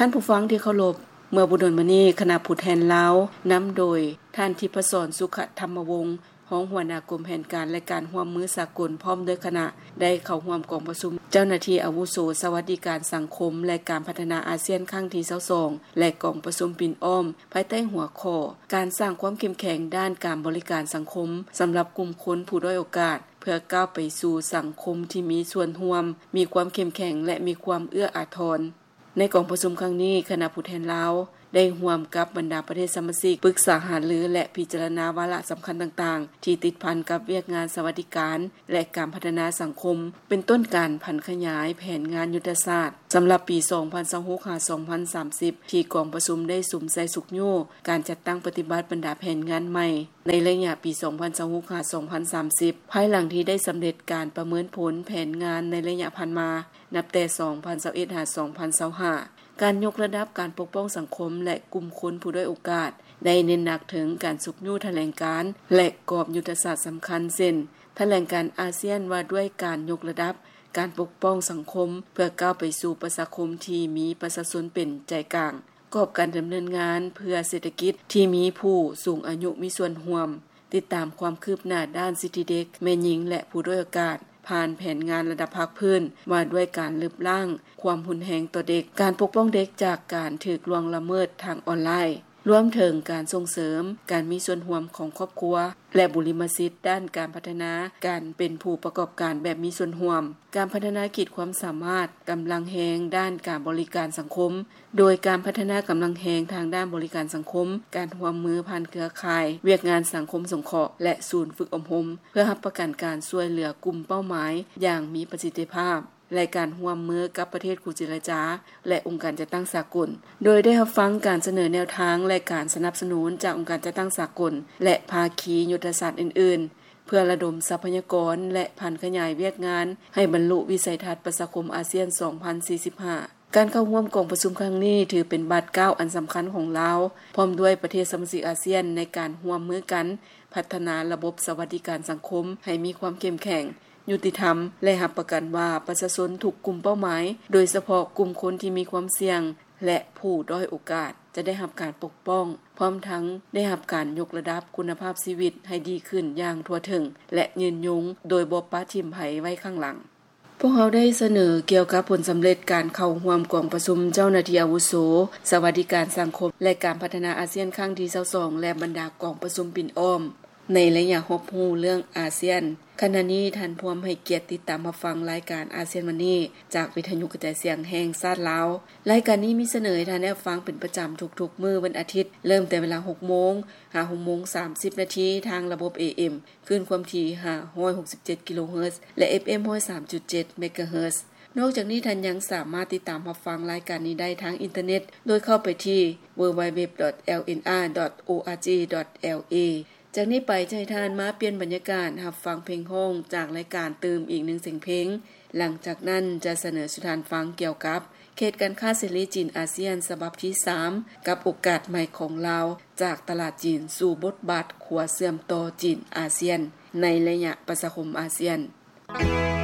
ທ່ານຜູ້ຟັງທີ່ເຄົາລົບ, ເມື່ອບໍ່ດົນມານີ້ ຄະນະຜູ້ແທນລາວ ນຳໂດຍ ທ່ານ ທິບພະສອນ ສຸຂະທຳມະວົງ ຮອງຫົວໜ້າກົມແຜນການ ແລະ ການຮ່ວມມືສາກົນ ພ້ອມດ້ວຍຄະນະ ໄດ້ເຂົ້າຮ່ວມກອງປະຊຸມເຈົ້າໜ້າທີ່ອາວຸໂສສະຫວັດດີການສັງຄົມ ແລະ ການພັດທະນາອາຊຽນຄັ້ງທີຊາວສອງ ແລະ ກອງປະຊຸມປິ່ນອ້ອມ ພາຍໃຕ້ຫົວຂໍ້ ການສ້າງຄວາມເຂັ້ມແຂງດ້ານການບໍລິການສັງຄົມ ສຳລັບກຸ່ມຄົນຜູ້ດ້ອຍໂອກາດ ເພື່ອກ້າວໄປສູ່ສັງຄົມທີ່ມີສ່ວນຮ່ວມ, ມີຄວາມເຂັ້ມແຂງ ແລະ ມີຄວາມເອື້ອອາທອນ. ໃນກອງປະຊຸມຄັ້ງນີ້, ຄະນະຜູ້ແທນລາວໄດ້ຮ່ວມກັບບັນດາປະເທດສະມາຊິກ ປຶກສາຫາລື ແລະ ພິຈາລະນາວາລະສຳຄັນຕ່າງໆ ທີ່ຕິດພັນກັບວຽກງານສະຫວັດດີການ ແລະ ການພັດທະນາສັງຄົມ ເປັນຕົ້ນການຜັນຂະຫຍາຍແຜນງານຍຸດທະສາດສຳລັບປີສອງພັນຊາວຫົກ ຫາ ສອງພັນສາມສິບ ທີ່ກອງປະຊຸມໄດ້ສຸມໃສ່ຊຸກຍູ້ການຈັດຕັ້ງປະຕິບັດບັນດາແຜນງານໃໝ່ ໃນໄລຍະປີສອງພັນຊາວຫົກ ຫາ ສອງພັນສາມສິບ ພາຍຫຼັງທີ່ໄດ້ສຳເລັດການປະເມີນຜົນແຜນງານໃນໄລຍະຜ່ານມາ ນັບແຕ່ສອງພັນຊາວເອັດ ຫາ ສອງພັນຊາວຫ້າ. ການຍົກລະດັບການປົກປ້ອງສັງຄົມ ແລະ ກຸ່ມຄົນຜູ້ດ້ອຍໂອກາດ ໄດ້ເນັ້ນໜັກເຖິງການຊຸກຍູ້ຖະແຫຼງການ ແລະ ກອບຍຸດທະສາດສຳຄັນ ເຊັ່ນ ຖະແຫຼງການອາຊຽນວ່າດ້ວຍການຍົກລະດັບການປົກປ້ອງສັງຄົມ ເພື່ອກ້າວໄປສູ່ປະຊາຄົມທີ່ມີປະຊາຊົນເປັນໃຈກາງ, ກອບການດຳເນີນງານເພື່ອເສດຖະກິດທີ່ມີຜູ້ສູງອາຍຸມີສ່ວນຮ່ວມ, ຕິດຕາມຄວາມຄືບໜ້າດ້ານສິດທິເດັກ, ແມ່ຍິງ ແລະ ຜູ້ດ້ອຍໂອກາດ ຜ່ານແຜນງານລະດັບພາກພື້ນວ່າດ້ວຍການລຶບລ້າງຄວາມຮຸນແຮງຕໍ່ເດັກ, ການປົກປ້ອງເດັກຈາກການຖືກລ່ວງລະເມີດທາງອອນລາຍ, ລວມເຖິງການສົ່ງເສີມການມີສ່ວນຮ່ວມຂອງຄອບຄົວ ແລະ ບຸລິມະສິດດ້ານການພັດທະນາການເປັນຜູ້ປະກອບການແບບມີສ່ວນຮ່ວມ, ການພັດທະນາຂີດຄວາມສາມາດກຳລັງແຮງດ້ານການບໍລິການສັງຄົມ, ໂດຍການພັດທະນາກຳລັງແຮງທາງດ້ານບໍລິການສັງຄົມ, ການຮ່ວມມືຜ່ານເຄືອຂ່າຍ, ວຽກງານສັງຄົມສົງເຄາະ ແລະ ສູນຝຶກອົບຮົມ ເພື່ອຮັບປະກັນການຊ່ວຍເຫຼືອກຸ່ມເປົ້າໝາຍຢ່າງມີປະສິດທິພາບ ແລະ ການຮ່ວມມືກັບປະເທດຄູ່ເຈລະຈາ ແລະ ອົງການຈັດຕັ້ງສາກົນ, ໂດຍໄດ້ຮັບຟັງການສະເໜີແນວທາງ ແລະ ການສະໜັບສະໜູນຈາກອົງການຈັດຕັ້ງສາກົນ ແລະ ພາຄີຍຸດທະສາດອື່ນໆ ເພື່ອລະດົມຊັບພະຍາກອນ ແລະ ຜັນຂະຫຍາຍວຽກງານໃຫ້ບັນລຸວິໄສທັດປະຊາຄົມອາຊຽນສອງພັນສີ່ສິບຫ້າ. ການເຂົ້າຮ່ວມກອງປະຊຸມຄັ້ງນີ້ ຖືເປັນບາດກ້າວອັນສຳຄັນຂອງລາວ ພ້ອມດ້ວຍປະເທດສະມາຊິກອາຊຽນ ໃນການຮ່ວມມືກັນພັດທະນາລະບົບສະຫວັດດີການສັງຄົມໃຫ້ມີຄວາມເຂັ້ມແຂງ, ຍຸຕິທຳ ແລະ ຮັບປະກັນວ່າປະຊາຊົນທຸກກຸ່ມເປົ້າໝາຍ, ໂດຍສະເພາະກຸ່ມຄົນທີ່ມີຄວາມສ່ຽງ ແລະ ຜູ້ດ້ອຍໂອກາດ ຈະໄດ້ຮັບການປົກປ້ອງ, ພ້ອມທັງໄດ້ຮັບການຍົກລະດັບຄຸນນະພາບຊີວິດໃຫ້ດີຂຶ້ນຢ່າງທົ່ວເຖິງ ແລະ ຍືນຍົງ ໂດຍບໍ່ປະຖິ້ມໃຜໄວ້ຂ້າງຫຼັງ. ພວກເຮົາໄດ້ສະເໜີກ່ຽວກັບຜົນສຳເລັດການເຂົ້າຮ່ວມກອງປະຊຸມເຈົ້າໜ້າທີ່ອາວຸໂສສະຫວັດດີການສັງຄົມ ແລະ ການພັດທະນາອາຊຽນຄັ້ງທີຊາວສອງ ແລະ ບັນດາກອງປະຊຸມປິ່ນອ້ອມ ໃນໄລຍະຮອບຮູ້ເລື່ອງອາຊຽນ. ຂະນະນີ້ທ່ານພວມໃຫ້ກຽດຕິດຕາມຮັບຟັງລາຍການອາຊຽນວັນນີ້ ຈາກວິທະຍຸກະຈາຍສຽງແຫ່ງຊາດລາວ. ລາຍການນີ້ມີສະເໜີໃຫ້ທ່ານໄດ້ຮັບຟັງເປັນປະຈຳທຸກໆມື້ວັນອາທິດ, ເລີ່ມແຕ່ເວລາຫົກໂມງ ຫາ ຫົກໂມງສາມສິບນາທີ ທາງລະບົບ ເອເອັມ ຄື້ນຄວາມຖີ່ ຫ້າຮ້ອຍຫົກສິບເຈັດກິໂລເຮີດ ແລະ ເອັຟເອັມ ຮ້ອຍສາມຈຸດເຈັດເມກາເຮີດ. ນອກຈາກນີ້, ທ່ານຍັງສາມາດຕິດຕາມຮັບຟັງລາຍການນີ້ໄດ້ທາງອິນເຕີເນັດ ໂດຍເຂົ້າໄປທີ່ ดัບເບິນຢູດັບເບິນຢູດັບເບິນຢູ ດອດ ໂອອາຈີ ດອດ ແອລເອ. ຈາກນີ້ໄປ ຈະໃຫ້ທ່ານມາປ່ຽນບັນຍາກາດຮັບຟັງເພງຮ້ອງຈາກລາຍການຕື່ມອີກໜຶ່ງສຽງເພງ. ຫຼັງຈາກນັ້ນຈະສະເໜີສູ່ທ່ານຟັງກ່ຽວກັບເຂດການຄ້າເສລີຈີນອາຊຽນສະບັບທີສາມ ກັບໂອກາດໃໝ່ຂອງລາວ ຈາກຕະຫຼາດຈີນສູ່ບົດບາດຂົວເຊື່ອມຕໍ່ຈີນອາຊຽນ ໃນໄລຍະປະຊາຄົມອາຊຽນ.